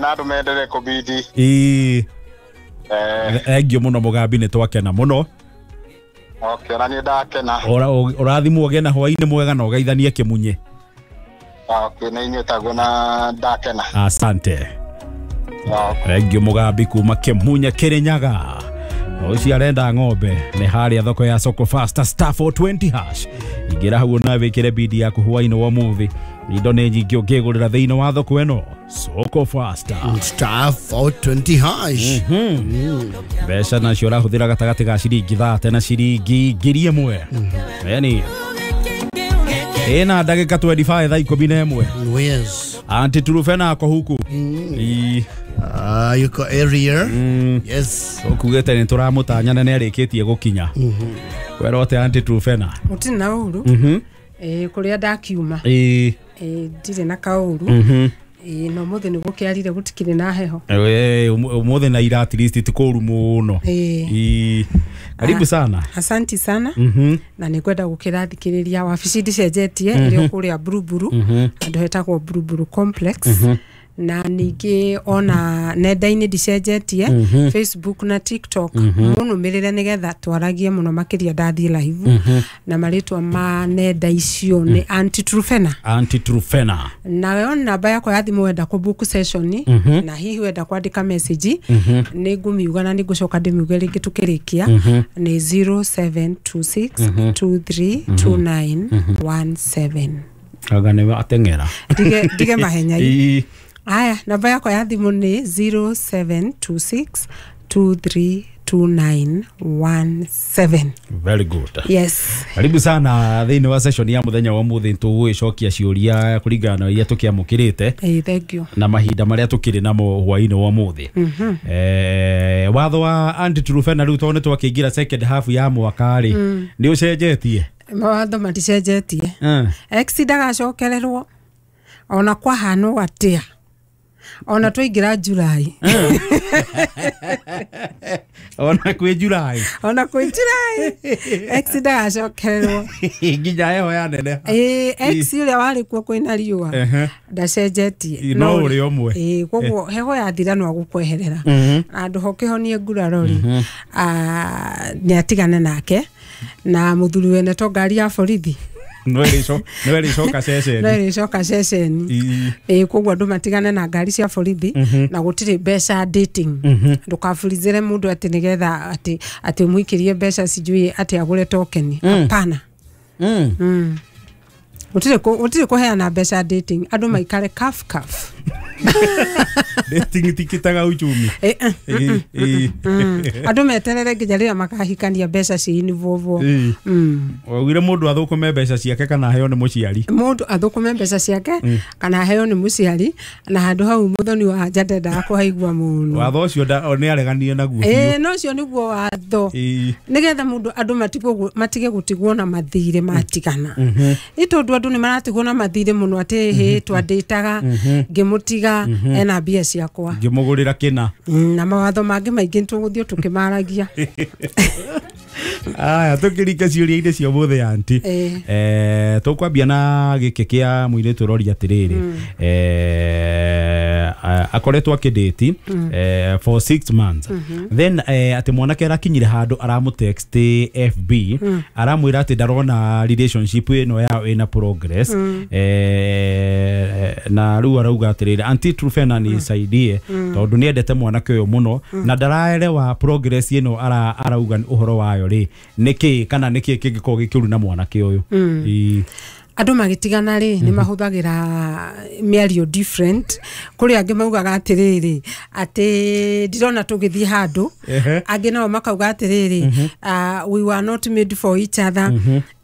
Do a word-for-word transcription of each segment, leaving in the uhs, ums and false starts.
Na andũ mendelee kũbidi. Ĩĩ. Eh. Thank you mũno, Mũgambi, nĩ twakena mũno. Okay, na niĩ ndakena. Ora- ũrathimwo ũgĩe na hwainĩ mwega na ũgeithanie Kĩmunye. Okay, na inyuĩ taguo, na ndakena. Asante. Okay. Thank you, Mũgambi kuma Kĩmunye, Kĩrĩnyaga. Ũcio arenda ng'ombe nĩ harĩa thoko ya Soko Fasta, star four twenty hash. Ingĩra hau na wĩkĩre bidi yaku hwainĩ wa ũmũthĩ. Indo nĩ nyingĩ ũngĩgũrĩra thĩinĩ wa thoko ĩno, Soko Fasta. Star four twenty hash. Mbeca nacio ũrahũthĩra gatagatĩ ga ciringi thate na ciringi ngiri ĩmwe. Yani ĩna ndagĩka mĩrongo ĩrĩ na ithano thaa ikũmi na ĩmwe. Yes. Auntie Turufena ako huku. Ii. Uh, yuko area. Yes. Ũkugĩte nĩ tũramũtanya na nĩ arĩkĩtie gũkinya. Kwĩrwo atĩ, Auntie Turufena? Gũtirĩ na ũru. Ĩĩ, kũrĩa ndakiuma. Ĩĩ. Ĩĩ, ndirĩ na kaũru. Ĩĩ, na ũmũthĩ nĩ gũkĩarire, gũtikĩrĩ na heho. Eh, ũmũthĩ na ira at least ti kũru mũno. Ĩĩ. Ĩĩ. Karibu sana. Asanti sana. Na nĩ ngwenda gũkĩrathikĩrĩria wabici ndicenjetie, ĩrĩ o kũrĩa Buruburu, handũ hetagwo Buruburu Complex. Na ningĩ ona nenda-inĩ ndicenjetie, Facebook na TikTok, mũnũmĩrĩre nĩgetha twaragie mũno makĩria ndathiĩ live. Na marĩtwa ma nenda icio nĩ Auntie Trufena. Auntie Trufena. Nayo namba yakwa ya thimũ, wenda kũ book session na hihi wenda kwandĩka message, nĩ ngũmiuga na nĩ ngũcoka ndĩmiuge rĩngĩ tũkĩrĩkia, nĩ zero seven two six two three two nine one seven. Anga nĩ ateng'era. Ndige ndige mahenya. Ĩĩ. Aya, namba yakwa ya thimũ nĩ zero seven two six two three two nine one seven. Very good. Yes. Karibu sana thĩinĩ wa session ya mũthenya wa mũthĩ. Tũgũgĩcokia ciũria kũringana na iria tũkĩamũkĩrĩte Hey, thank you. na mahinda marĩa tũkĩrĩ namo hwainĩ wa ũmũthĩ. Eh, watho wa Auntie Trufena rĩu, tondũ nĩ twakĩingĩra second half ya mwaka rĩ, nĩ ũcenjetie? Mawatho maticenjetie. Eh. Ex ndagacokererwo ona kwahanwo atia, ona twaingĩra July. Ona kwĩ July? Ona kwĩ July, ex ndagacokererwo. Nginya heho yaneneha. Ĩĩ, ex ũrĩa warĩ kuo kwĩna riũa Ehe. ndacenjetie. No ũrĩa ũmwe. Ĩĩ, koguo heho yathira no agũkweherera na ndũho kĩhonie nguraro rĩ, nĩ atigane nake na mũthuri wene to ngari ya borithi. No ĩrĩcoka ceceni. No ĩrĩcoka ceceni. Ĩĩ. Ĩĩ, koguo andũ matigane na ngari cia borithi na gũtirĩ mbeca dating. Ndũkaburizĩre mũndũ atĩ nĩgetha atĩ atĩ ũmũikĩrie mbeca, sijui atĩ agũre token. Hapana. Mm. Gũtirĩ kũ- gũtirĩ kũheana mbeca dating, andũ maikare kaf kaf. Dating tikitaga uchumi. Eh, eh, Ĩĩ, ĩĩ. mm. andũ meterere nginya rĩrĩa makahikania, mbeca ciinivũvwo. Ĩĩ. mm. Waugire mũndũ athũkũme mbeca ciake kana aheo nĩ mũciari. Mũndũ athũkũme mbeca ciake kana aheo nĩ mũciari, na handũ hau mũthoni wa nja ndendaga kũhaigua mũno. Watho ũcio nda- nĩ areganire naguo biũ. Ĩĩ, no ũcio nĩguo watho. Ĩĩ. Nĩgetha mũndũ andũ matigwo matige gũtigwo na mathirĩ matigana, nĩ tondũ andũ nĩ maratigwo na mathirĩ mũno, atĩ hĩ, twandĩtaga ngĩmũtiga ena mbia ciakwa. Ngĩmũgũrĩra kĩna. Mm, na mawatho mangĩ maingĩ tũgũthiĩ tũkĩmaragia. Aya, tũkĩringa ciũria-inĩ cia ũmũthĩ, auntie. Ĩĩ. Eh, tũkwambia na gĩkĩ kĩa mũirĩtu ũroria atĩrĩrĩ, eh, a- akoretwo akĩdate eh, for six months, then eh, atĩ mwanake arakinyire handũ aramũtext F B, aramwĩra atĩ ndarona relationship ĩno yao ĩna progress. eh, na rĩu arauga atĩrĩrĩ, "Auntie Trufena, nisaidie, tondũ nĩendete mwanake ũyũ mũno na ndaraerewa progress ĩno ara, arauga ũhoro wayo rĩ nĩkĩ, kana nĩkĩ kĩngĩkorwo gĩkĩũru na mwanake ũyũ?" Ĩĩ. Andũ magĩtigana rĩ, nĩ mahũthagĩra mĩario different. Kũrĩ angĩ maugaga atĩrĩrĩ, atĩ ndirona tũgĩthiĩ handũ. Ehe. Angĩ nao makauga atĩrĩrĩ, uh, we were not made for each other.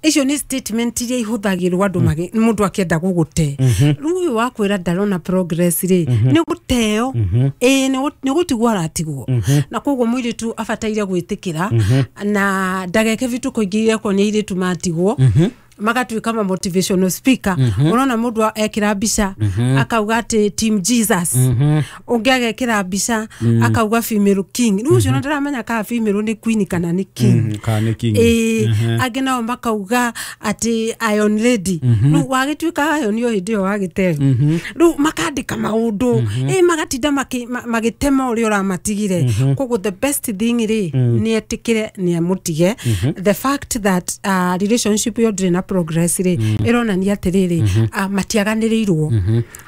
Icio nĩ statement iria ihũthagĩrwo andũ magi- mũndũ akĩenda gũgũte. Rĩu ũyũ wakwĩra ndarona progress rĩ, nĩ gũteo. Ĩĩ, nĩ gũ- nĩ gũtigwo aratigwo, na koguo mũirĩtu abataire gwĩtĩkĩra na ndageke vituko ingĩ irekwo nĩ airĩtu matigwo. Magatuĩka ma motivational speaker. Ũrona mũndũ ekĩra mbica akauga atĩ team Jesus, ũngĩ agekĩra mbica akauga female king. Rĩu ũcio ndĩramenya kana female nĩ queen kana nĩ king. Kana nĩ king. Ĩĩ, angĩ nao makauga atĩ iron lady. Rĩu wagĩtuĩka iron o hĩndĩ ĩyo wagĩteo. Rĩu makandĩka maũndũ, ĩ magatinda magĩtema ũrĩa ũramatigire. Koguo the best thing rĩ nĩ etĩkĩre nĩ amũtige. The fact that uh, relationship ĩyo ndĩrĩ na progress rĩ ĩronania atĩrĩrĩ, uh, matiaganĩrĩirwo.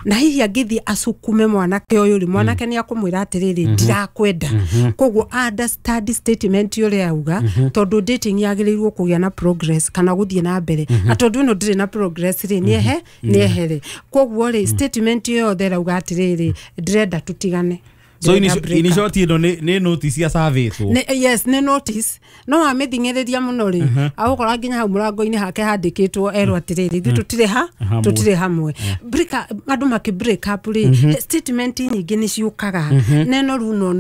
Na hihi angĩthiĩ acukume mwanake ũyũ rĩ, mwanake nĩ akũmwĩra atĩrĩrĩ, ndirakwenda. Koguo understand statement ũrĩa auga, tondũ dating yagĩrĩirwo kũgĩa na progress kana gũthiĩ na mbere, na tondũ ĩno ndĩrĩ na progress rĩ, nĩehe nĩehere. Koguo rĩ statement ĩyo yothe ĩrauga atĩrĩrĩ, ndĩrenda tũtigane. So in in short ĩno nĩ notice ya savĩtwo. Yes, nĩ notice. No wamĩthing'ĩrĩria mũno rĩ, agũkora nginya hau mũrango-inĩ hake handĩkĩtwo erwo atĩrĩrĩ, ithuĩ tũtirĩ ha tũtirĩ hamwe. Break, andũ makĩ break up rĩ, statement nyingĩ nĩ ciũkaga neno rĩu no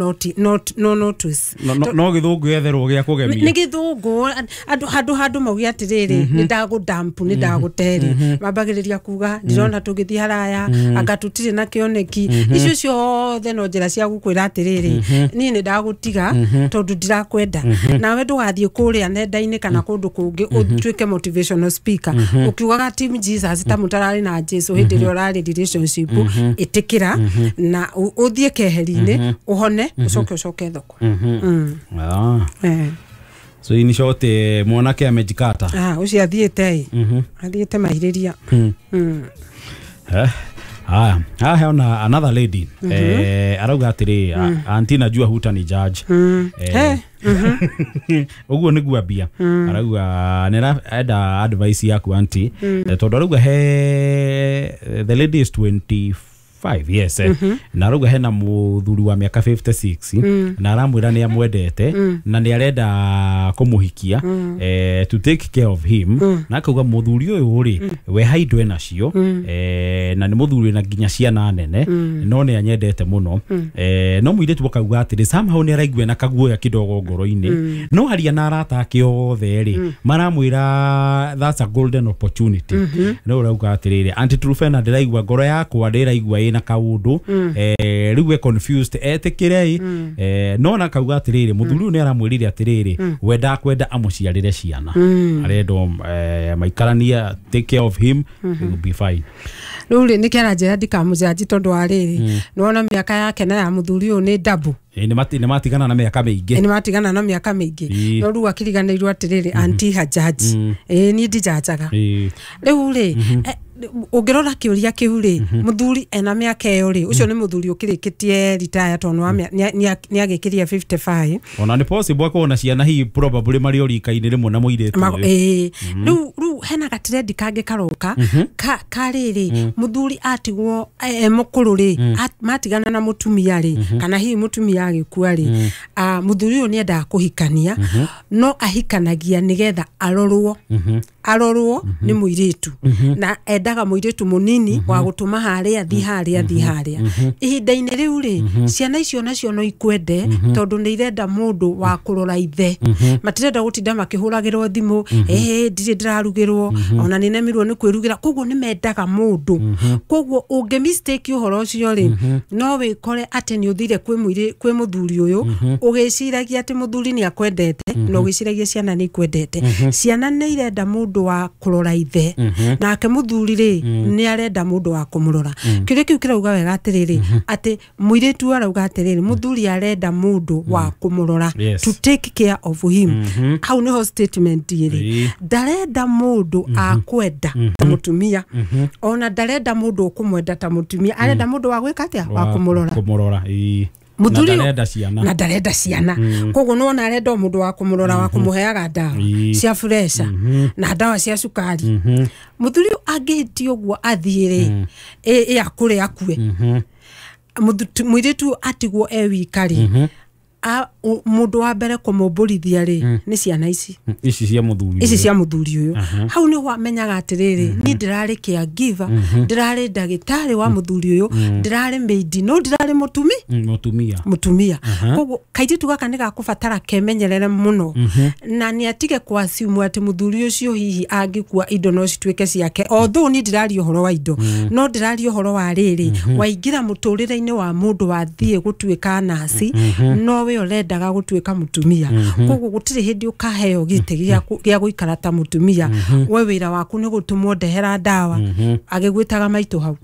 no notice. No gĩthũngũ gĩetherwo gĩa kũgemia. Nĩ gĩthũngũ andũ handũ handũ mauge atĩrĩrĩ, nĩ ndagũdampu, nĩ ndagũterĩ, mambagĩrĩria kuga ndĩrona tũgĩthiĩ haraya, anga tũtirĩ na kĩoneki. Icio ciothe no njĩra cia gukwira atiriri, niĩ nĩ ndagũtiga tondũ ndirakwenda. Nawe ndũgathiĩ kũrĩa nenda-inĩ kana kũndũ kũngĩ ũtuĩke motivational speaker ũkiugaga team Jesus ta mũtararĩ na Jesu hĩndĩ ĩrĩa ũrarĩ relationship. Ĩtĩkĩra na ũthiĩ keheri-inĩ ũhone, ũcoke ũcoke thoko. So in short, mwanake amejikata. Ah, ũcio athiĩte ĩ athiĩte mahirĩria. Eh Haya, haya ona another lady. Mm -hmm. Eh, arauga atiri, mm. Auntie najua hutani judge. Mm. Eh. Uguo niguo ambia. Mm. Arauga nera enda advice yaku auntie. Mm. Tondu arauga he the lady is twenty-five yes. Mm -hmm. Na arauga hena muthuri wa miaka fifty-six. Mm. Na aramwira ni amwendete. Mm. Na ni arenda kumuhikia. Mm. Eh, to take care of him. Mm. Na akauga muthuri uyu ri. Mm. We haidwe nacio. Mm. Eh, na ni muthuri na nginya ciana nene. Mm. No ni anyendete muno. Mm. Eh, no muiritu akauga atiri somehow ni araigua na kaguoya kidogo ngoro-ini. Mm. No haria na arata ake othe ri. Mm. Maramwira that's a golden opportunity. Mm -hmm. No urauga atiriri Auntie Truphena ndiraigua ngoro yakwa ndiraigua ina kaundu. Mm. Eh, riu we confused etikirei. Mm. Eh, no na kauga atiriri muthuri mm. ni aramwirire atiriri. Mm. We ndakwenda amuciarire ciana. Mm. Arendwo eh, maikarania take care of him. Mm -hmm. It will be fine. Riu ri nä kä aranjä ra ndikamũjanji tondå wa rä rä nĩwona mĩaka yake na ya mũthuri ũyũ nĩ double. Nĩ matigana na mĩaka mĩingĩ. Nĩ matigana na mĩaka mĩingĩ. No rĩu akiriganĩirwo atĩrĩrĩ anti hajaji. Ĩĩ niĩ ndijanjaga. Rĩu rĩ ũngĩrora kĩũria kĩu rĩ, mũthuri ena mĩaka ĩyo rĩ, ũcio nĩ mũthuri ũkĩrĩkĩtie retire tondũ nĩ agĩkĩria fifty-five. Ona nĩ possible akorwo na ciana hihi probably marĩ o rika-inĩ rĩmwe na mũirĩtu ũyũ. Ĩĩ rĩu rĩu hena gatrendi kangĩ karoka ka karĩrĩ mũthuri atigwo e mũkũrũ rĩ, matigana na mũtumia rĩ, kana hihi mũtumia agĩkua rĩ, mũthuri ũyũ nĩ endaga kũhikania, no ahikanagia nĩgetha arorwo arorwo nĩ mũirĩtu, na endaga mũirĩtu mũnini wa gũtũma harĩa thi harĩa thi harĩa. Ihinda-inĩ rĩu rĩ, ciana icio nacio no ikwende tondũ nĩ irenda mũndũ wa kũrora ithe. Matirenda gũtinda makĩhũragĩrwo thimũ, eh ndirĩ ndĩrarugĩrwo, ona nĩ nemirwo nĩ kwĩrugĩra. Koguo nĩ mendaga mũndũ. Koguo ũngĩ mistake ũhoro ũcio rĩ, no wĩkore atĩ nĩ ũthire kwĩ mũirĩ kwĩ mũthuri ũyũ ũgĩciragia atĩ mũthuri nĩ akwendete, na ũgĩciragia ciana nĩ ikwendete. Ciana nĩ irenda mũndũ wa kũrora ithe, nake mũthuri rĩ nĩ arenda mũndũ wa kũmũrora. Kĩũria kĩu kĩrauga wega atĩrĩrĩ, atĩ mũirĩtu arauga atĩrĩrĩ, mũthuri arenda mũndũ wa kũmũrora, to take care of him. Hau nĩho statement ĩrĩ. Ndarenda mũndũ akwenda ta mũtumia, ona ndarenda mũndũ ũkũmwenda ta mũtumia, arenda mũndũ wa gwĩka atĩa, wa kũmũrora. Kũmũrora, ĩĩ. Muthuri na ciana na ndarenda ciana. Koguo nĩwona arenda mũndũ wa kũmũrora, wa kũmũheaga ndawa cia pressure na ndawa cia cukari. Muthuri angĩhĩtia ũguo athiĩ rĩ, ĩ akũre akue, mũirĩtu atigwo e wika rĩ, Mundu wa mbere kumumbũrithia rĩ nĩ ciana ici ici cia muthuri ici cia muthuri uyu. Hau nĩ wamenyaga atiriri ni ndirarĩ caregiver, ndirarĩ ndagĩtarĩ wa muthuri uyu, ndirarĩ maid, no ndirarĩ mutumi mutumia mutumia. Koguo kairitu gaka nĩ gakũbatara kemenyerere mũno na nĩ atige kwasimu atĩ muthuri ucio hihi angĩkua indo no cituĩke ciake. Although ni ndiraria ũhoro wa indo, no ndiraria ũhoro wa rĩrĩ waingĩra mũtũrĩre-inĩ wa mũndũ wathiĩ gũtuĩka nasi, no we ũrendaga gũtuĩka mũtumia. Koguo gũtirĩ hĩndĩ ũkaheo gĩtĩ gĩa gũikara ta mũtumia. We wĩra waku nĩ gũtũmwo ndehera ndawa, agĩgwĩtaga maitũ hau.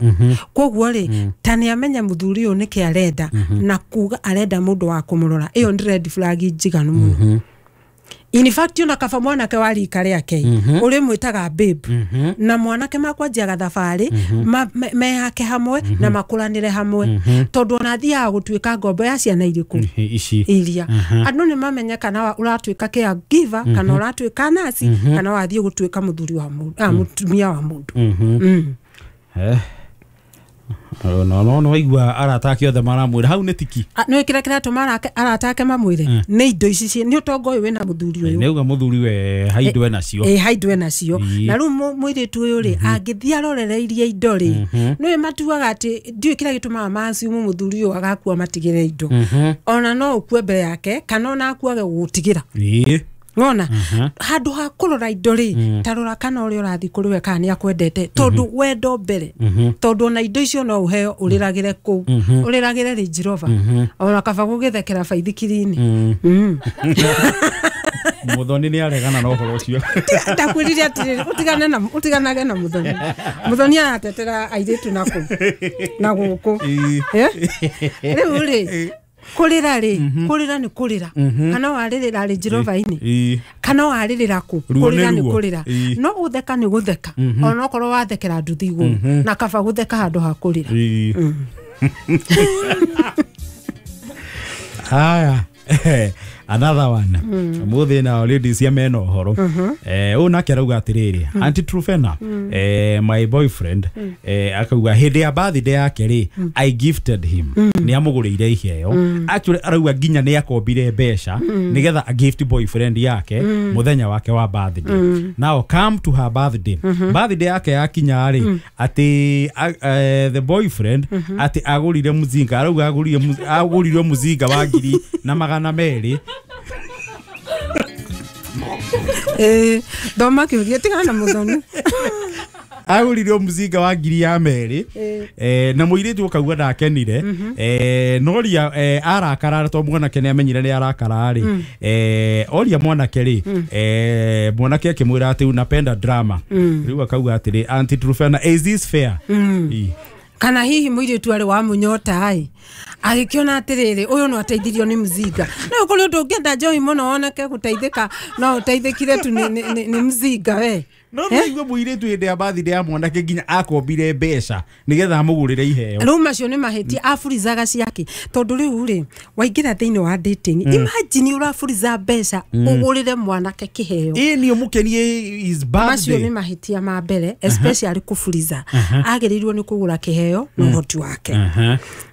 Koguo rĩ ta nĩ amenya mũthuri ũyũ nĩkĩ arenda na kuga arenda mũndũ wa kũmũrora, ĩyo nĩ red flag njiganu mũno. In fact ona kaba mwanake wa rika rĩake ũrĩ mwĩtaga babe, na mwanake makwanjia thabarĩ mehake hamwe na makũranĩre hamwe, tondũ ona athiaga gũtuĩka ngombo ya ciana irĩkũ ici iria. Andũ nĩ mamenye kana ũratuĩka caregiver kana ũratuĩka nasi kana wathiĩ gũtuĩka mũthuri wa mũndũ, mũtumia wa mũndũ. Eh no no no igua arata ake othe maramwĩra hau nĩ tiki. Nĩ kĩrĩa kĩratũma arata ake mamwĩre nĩ indo ici nĩ ũtonga ũyũ wĩna mũthuri ũyũ. Nĩ uga mũthuri we haindwe nacio. Ĩ haindwe nacio. Na rĩu mũirĩtu ũyũ rĩ angĩthiĩ arorereirie indo rĩ nĩwe matuaga atĩ ndiũĩ kĩrĩa gĩtũmaga maciumu mũthuri ũyũ agakua matigĩre indo. Ona no ũkue mbere yake kana ona akuage gũgũtigĩra. Ĩ ngona handu ha kurora indo ri tarora kana uri urathi kuri we kana ni akwendete, tondu wendo mbere, tondu ona indo icio no uheo uriragire ku uriragire Range Rover, ona kaba gugithekera baithikirini. Muthoni ni aregana na uhoro ucio. Ndakwirire atiriri utigane na utiganage na Muthoni. Muthoni aratetera airitu na ku na guku. Riu ri kurira ri kurira ni kurira, kana waririra Range Rover ini kana waririra ku kurira ni kurira, no gutheka ni gutheka, ona okorwo wathekera nduthi iguru na kaba gutheka handu ha kurira. Haya, another one. Muthi na ladies ya mena uhoro. Eh u nake arauga atiriri, Auntie Trufena, eh my boyfriend eh akauga hindi ya birthday yake ri I gifted him. Ni amuguriire iheo. Actually arauga nginya ni akombire mbeca nigetha a gift boyfriend yake muthenya wake wa birthday. Now come to her birthday. Birthday yake yakinya ri ati the boyfriend ati agurire muzinga, arauga agurire agurire muzinga wa ngiri na magana meri. Eh thoma kiuria tigana na Muthoni. Agurire muzinga wa ngiri ya meri eh na muiritu akauga ndakenire, eh noria arakara to mwanake ni amenyire ni arakara ri, eh oria mwanake ri, eh mwanake akimwira ati unapenda drama. Riu akauga atiri, Auntie Trufena, is this fair? Kana hihi muiritu ari wa munyota ai agikiona atiriri uyu no ateithirio ni mzinga. No kuri undu ungienda njohi muno woneke guteithika no uteithikire tu ni mzinga we. No niguo muiritu hindi ya birthday ya mwanake nginya akombire mbeca nigetha amugurire iheo. Riu macio ni mahitia aburizaga ciake, tondu riu ri waingira thiini wa dating, imagine uraburiza mbeca ugurire mwanake kiheo. Ĩ ni umukenie is birthday. Macio ni mahitia ma mbere, especially kuburiza. Agiriirwo ni kugura kiheo na uhoti wake.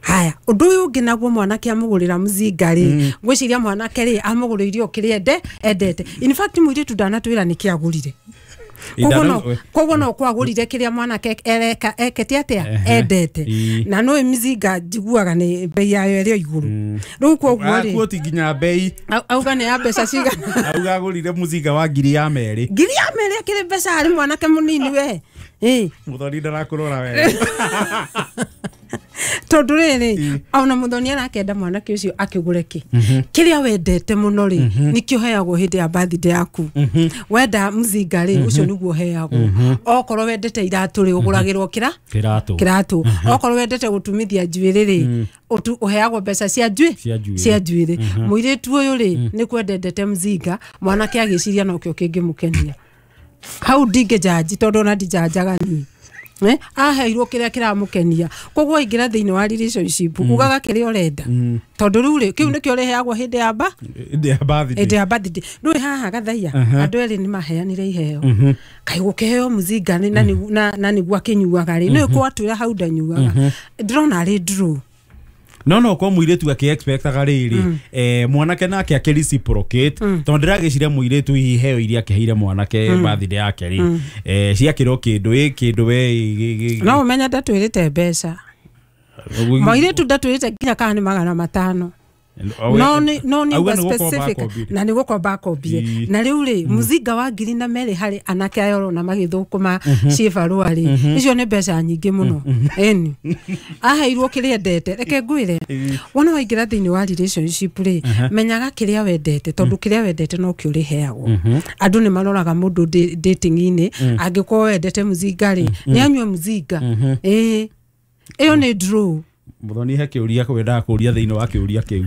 Haya, undu uyu ungi naguo mwanake amugurira mzinga ri, ngwiciria mwanake ri amuguriire o kiria ende endete. In fact muiritu ndanatwira niki agurire. Koguo no kwagurire kiria mwanake ereka ekete atia endete, na no mizinga njiguaga ni bei yayo ĩrĩ iguru. Riu koguo ri akuoti nginya bei auga ni ya mbeca cigana, auga agurire muzinga wa ngiri ya meri, ngiri ya meri akiri mbeca hari mwanake munini we. Eh Muthoni ndarakurora we. Tondu riri ona Muthoni arakenda mwanake ucio akigure ki kiria wendete muno ri nikio heagwo hindi ya birthday yaku. Wenda mzinga ri ucio niguo heagwo, okorwo wendete iratu ri uguragirwo kira kiratu kiratu, okorwo wendete gutumithia njuiri ri uheagwo mbeca cia njui cia njuiri. Muiritu uyu ri ni kwendete mzinga, mwanake agiciria nokio kingimukenia. Hau ndingĩjanji tondu ona ndijanjaga ni eh aheirwo kiria kiramukenia. Koguo ingira thiini wa relationship ugaga kiria urenda, tondu riu ri kiu nikio riheagwo hindi ya ba hindi ya birthday, hindi ya birthday. Riu haha gathaia andu eri ni maheanire iheo, kai gukiheo muzinga ni na na niguo akinyuaga ri ni kwatwira hau ndanyuaga, ndirona ari draw. No no kwa mũirĩtu akĩ-expectaga rĩrĩ, eh, mwanake nake akĩ reciprocate, tondũ ndĩragĩciria mũirĩtu hihi heo iria akĩheire mwanake birthday yake rĩ, eh, ciakĩrwo kĩndũ ĩ kĩndũ we ĩ- ĩ- ĩ- No ũmenye ndatwĩrĩte mbeca, mũirĩtu ndatwĩrĩte nginya kana nĩ magana matano. No nĩ no nĩ Auga nĩ gũkomba specific akombire. Na nĩ gũkomba akombire. Ii. Na rĩu rĩ, mũzinga wa ngiri na merĩ harĩ anake aya ũrona magĩthũkũma ciĩbarũa rĩ, icio nĩ mbeca nyingĩ mũno. Ĩni aheirwo kĩrĩa endete. Reke ngwĩre, wona waingĩra thĩinĩ wa relationship rĩ, menyaga kĩrĩa wendete, tondũ kĩrĩa wendete nokĩo ũrĩheagwo. Andũ nĩ maroraga mũndũ da- dating-inĩ. Angĩkorwo wendete mũzinga rĩ, nĩ anyue mũzinga. Ĩĩ, ĩyo nĩ draw. Mũthoni, he kĩũria kwendaga kũria thĩinĩ wa kĩũria kĩu.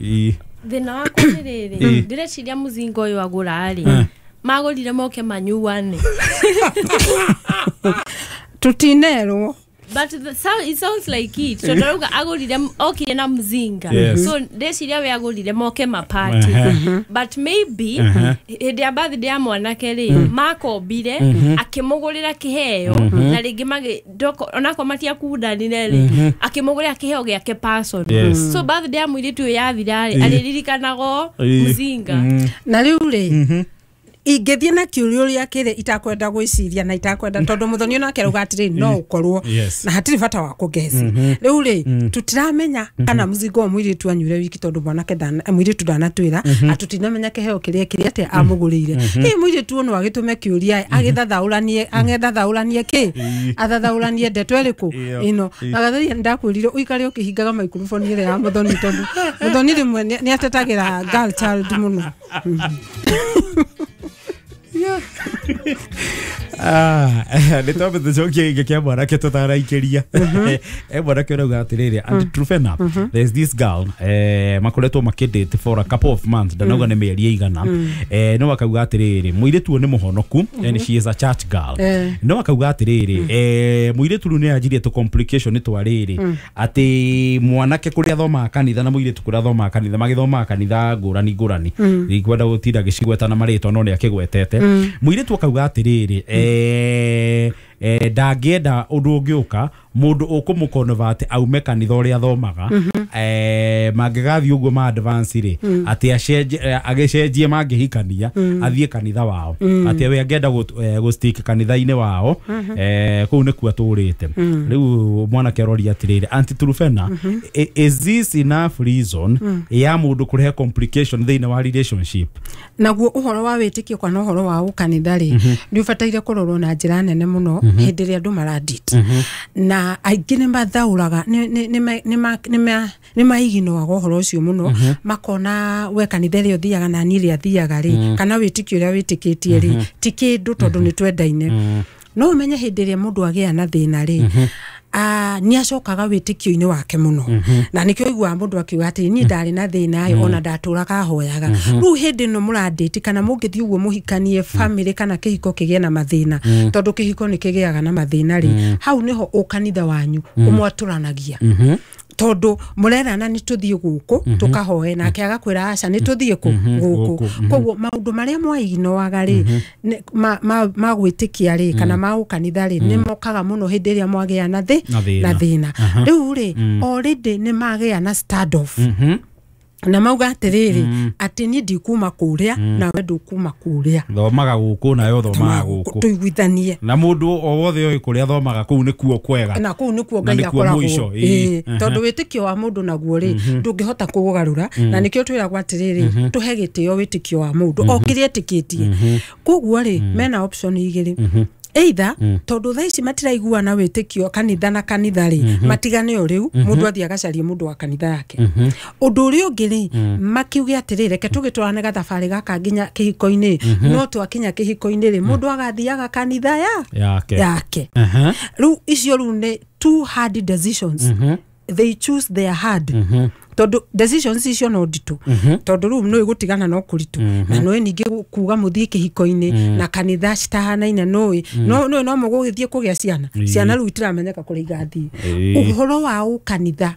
Ii. Thĩna wakwa nĩ rĩrĩ, Ĩ. ndĩreciria mũzinga ũyũ agũra rĩ, magũrire moke manyuane. Tũtinerwo. But the sound, it sounds like it, tondũ arauga agũrire, okire na mzinga. Yes. So ndeciria we agũrire moke mapati, but maybe hĩndĩ ya birthday ya mwanake rĩ, makombire, akĩmũgũrĩra kĩheo, na rĩngĩ magĩ ndoko- onakorwo matiakundanire rĩ, akĩmũgũrĩra kĩheo gĩake person. Yes. So birthday ya mũirĩtu ũyũ yathira rĩ, Ĩ. arĩririkanago Ĩ. mzinga. Na rĩu rĩ, ingĩthiĩ na kĩũria ũrĩa kĩrĩ itakwenda gwĩciria na itakwenda, tondũ mũthoni onake arauga atĩrĩ, no ũkorwo Yes. na hatirĩ bata wa kũgeci. Rĩu rĩ, tũtiramenya kana mũzingo wa mũirĩtu anyuire wiki, tondũ mwanake ndana- mũirĩtu ndanatwĩra, na tũtinamenya kĩheo kĩrĩa kĩrĩa atĩa amũgũrĩire. Hihi mũirĩtu ũyũ no agĩtũme kĩũria, agĩthathaũranie agĩthathaũranie kĩ athathaũranie ndeto ĩrĩkũ Ĩyo. ĩno. Na gatharia ndakwĩrire ũikare ũkĩhingaga microphone ĩrĩa ya mũthoni, tondũ mũthoni rĩmwe nĩ nĩ atetagĩra girl child mũno. Ah, nä twambe tå cokie gä kä a mwanake tå taraikä ria. E mwanake å rauga atä rä rä, and Trufena, there's this girl, eh, makoretwo makä date for a couple of months, ndanauga nä mä eri ĩigana. eh, no akauga atä rä rä, må irä tu å nä må honoku and she is a church girl. Eh. No akauga atä rä rä, eh, må irä tu rä u nä anjirie tå complication twa rä rä atä mwanake kå rä a athomaga kanitha na må irä tu kå rä a athomaga kanitha, magĩthomaga kanitha ngũrani ngũrani. Ndikwenda gũtinda ngĩcigweta na marĩtwa, no nĩ akĩgwetete. Mũirĩtu akauga atĩrĩrĩ, eh, eh, ndangĩenda ũndũ ũngĩũka mũndũ ũkũmũ aume kanitha ũrĩa athomaga. eh, mangĩgathiĩ ũguo ma advance rĩ, atĩ acenjie, eh, agĩcenjie mangĩhikania athiĩ kanitha wao, atĩ we angĩenda gũ- eh, gũ stick kanitha-inĩ wao, eh, kũu nĩkuo atũrĩte rĩu. Mwanake aroria atĩrĩrĩ, Aunty Trufena, i- is this enough reason ya mũndũ kũrehe complication thĩinĩ wa relationship? Naguo ũhoro wa wĩtĩkio kana ũhoro wa ũkanitha rĩ, nĩ ũbataire kũrorwo na njĩra nene mũno hĩndĩ ĩrĩa andũ maradate. Na aingĩ nĩ mathaũraga, nĩ- nĩ- nĩ ma- nĩ ma- nĩ ma- nĩ maiginoaga ũhoro ũcio mũno, makona we kanitha ĩrĩa ũthiaga na niĩ ĩrĩa thiaga rĩ, kana wĩtĩkio ũrĩa wĩtĩkĩtie rĩ, ti kĩndũ, tondũ nĩ twendaine. No ũmenye hĩndĩ ĩrĩa mũndũ agĩa na thĩna rĩ, ah, nĩ acokaga wĩtĩkio-inĩ wake mũno, na nĩkĩo ũiguaga mũndũ akiuga atĩ niĩ ndarĩ na thĩna ĩ, ona ndatũraga hoyaga. Rĩu hĩndĩ ĩno mũradate, kana mũngĩthiĩ ũguo mũhikanie family, kana kĩhiko kĩgĩe na mathĩna, tondũ kĩhiko nĩ kĩgĩaga na mathĩna rĩ, hau nĩho ũkanitha wanyu ũmwatũranagia, tondũ mũrerana nĩ tũthiĩ gũkũ tũkahoe, nake agakwĩra aca, nĩ tũthiĩ kũ gũkũ. Gũkũ. Koguo maũndũ marĩa mwaiginoaga rĩ, nĩ- ma- ma ma gwĩtĩkia rĩ, kana ma ũkanitha rĩ, nĩ mokaga mũno hĩndĩ ĩrĩa mwagĩa na thĩ Na thĩna. Na thĩna. Rĩu rĩ, already nĩ magĩa na stand off, na mauga atĩrĩrĩ, atĩ niĩ ndikuma kũrĩa nawe ndũkuma kũrĩa. Thomaga gũkũ nayo thomaga gũkũ. Tũiguithanie. Na mũndũ o wothe oĩ kũrĩa thomaga kũu nĩkuo kwega. Na kũu nĩkuo Na Ngai nĩkuo akoragwo. mũico, ĩĩ. Ĩĩ, tondũ wĩtĩkio wa mũndũ naguo rĩ, ndũngĩhota kũũgarũra, na nĩkĩo twĩragwo atĩrĩrĩ, tũhe gĩtĩo wĩtĩkio wa mũndũ o kĩrĩa etĩkĩtie. Koguo rĩ, mena option igĩrĩ: either tondũ thaa ici matiraiguana wĩtĩkio kanitha na kanitha rĩ, matigane o rĩu, mũndũ athiĩ agacarie mũndũ wa kanitha yake. Ũndũ ũrĩa ũngĩ rĩ, makiuge atĩrĩ, reke tũgĩtwarane gathabarĩ gaka nginya kĩhiko-inĩ, no twakinya kĩhiko-inĩ rĩ, mũndũ agathiaga kanitha ya yake. Yake. Aha. Rĩu icio rĩu nĩ two hard decisions. They choose their hard, tondũ decisions icio no nditũ, tondũ rĩu nĩ gũtigana no kũritũ, na nĩ ningĩ kuga mũthiĩ kĩhiko-inĩ na kanitha citahanaine, nũĩ no nũĩ no mũgũgĩthiĩ kũgĩa ciana. Ĩĩ. Ciana rĩu itiramenyeka kũrĩa igathiĩ. Ĩĩ. Ũhoro wa ũkanitha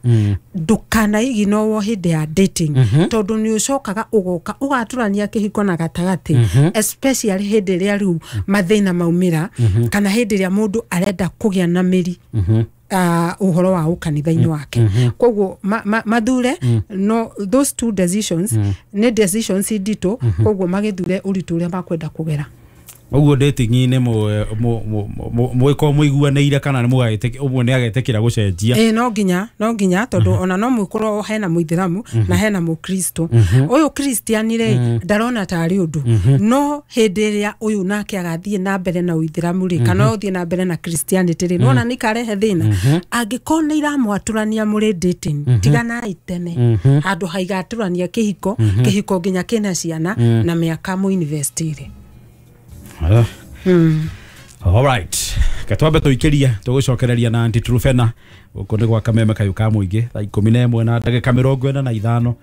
ndũkanaiginowo hĩndĩ ya dating, tondũ nĩ ũcokaga ũgoka ũgatũrania kĩhiko na gatagatĩ, especially hĩndĩ ĩrĩa rĩu mathĩna maumĩra, kana hĩndĩ ĩrĩa mũndũ arenda kũgĩa na mĩri. uh, uhoro wa ukanitha-inĩ wake. Koguo ma, ma, mathure no those two decisions nĩ decisions nditũ, koguo magĩthure ũritũ ũrĩa makwenda kũgera. Ũguo dating-inĩ mwĩkorwo mũiguanĩire kana nĩ mũgagĩtĩkĩra ũmwe nĩ agetĩkĩra gũcenjia? Ĩĩ, no nginya no nginya tondũ ona no mũkorwo hena mũithĩramu na hena mũkristo. Ũyũ Christian rĩ, ndarona tarĩ ũndũ, no hĩndĩ ĩrĩa ũyũ nake agathiĩ na mbere na ũithĩramu rĩ, kana ũthiĩ na mbere na Christianity rĩ, nĩwona nĩ karehe thĩna. Angĩkorwo nĩ iramwatũrania mũrĩ dating, tiganai tene handũ haigatũrania kĩhiko kĩhiko nginya kĩna ciana na mĩaka mũinvestire. Mm. All right. Katwambe tuikirie tugucokereria na Aunty Truphena guku ni gwa Kameme kayu ka muingi thaa ikumi na ĩmwe na ndagĩka mĩrongo ĩna na ithano.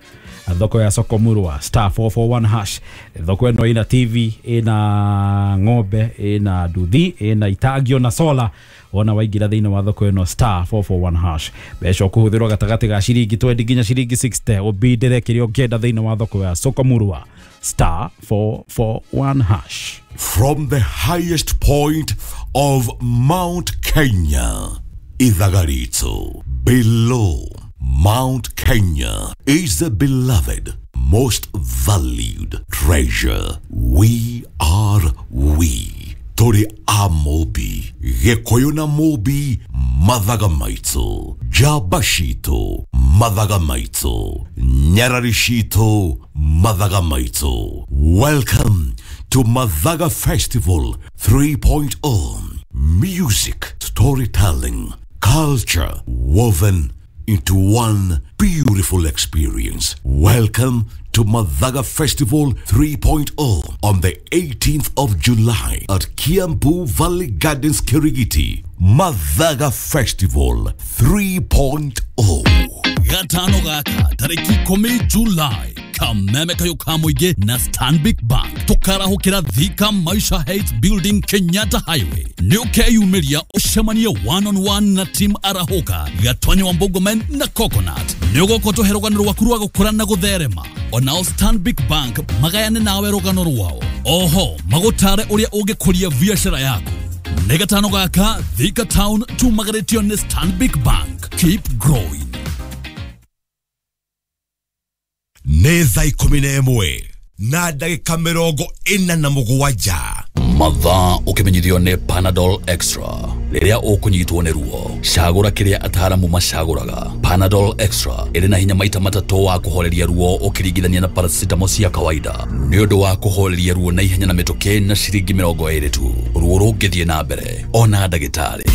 Thoko ya soko murwa star four four one hash. Thoko ĩno ina T V, ina ng'ombe, ina nduthi, ina itangio na sola. Wona waingĩra thĩinĩ wa thoko ĩno star four four one hash, mbeca ũkũhũthĩrwo gatagatĩ ga ciringi twenty nginya ciringi sixty ũbindĩre kĩrĩa ũngĩenda thĩinĩ wa thoko ya soko murwa star four four one hash. From the highest point of Mount Kenya, Ithagarito, below Mount Kenya is the beloved, most valued treasure. We are we. Tori Amobi, Gekoyona Mobi, Mathagamaito, Jabashito, Mathagamaito, Nyararishito, Mathagamaito. Welcome to Mathaga Festival three point oh. Music, storytelling, culture woven into one beautiful experience. Welcome to Mathaga Festival three point oh on the eighteenth of July at Kiambu Valley Gardens, Kirigiti. Mathaga Festival three point oh. Gatano gaka tariki ikumi July Kameme kayo ka muingi na Stanbic Bank tukarahukira Thika Maisha Heights Building, Kenyatta Highway. Nĩ ũkeyumĩria ũcemanie one on one na team Arahuka, Gatwanya wa Mbogomen na Coconut. Nĩ ũgoka ũtũhe rũgano rwaku rwa gũkũra na gũtherema. Onao Stanbic Bank magayane nawe rũgano rwao. Oho magũtare ũrĩa ũngĩkũria biacara yaku. Nĩ gatano gaka Thika Town tumagarĩtio nĩ Stanbic Bank. Keep growing. Nĩ thaa ikũmi na ĩmwe na ndagĩka mĩrongo ĩna na mũgwanja. Mathaa ũkĩmenyithio nĩ Panadol Extra. Rĩrĩa ũkũnyitwo nĩ ruo, cagũra kĩrĩa ataaramu macagũraga. Panadol Extra ĩrĩ na hinya maita matatũ wa kũhoreria ruo ũkĩringithania na paracetamol cia kawaida. Nĩ ũndũ wa kũhoreria ruo na ihenya na mĩtũkĩ na ciringi mĩrongo ĩrĩ tu. Ruo rũngĩthiĩ na mbere, ona ndagĩtarĩ.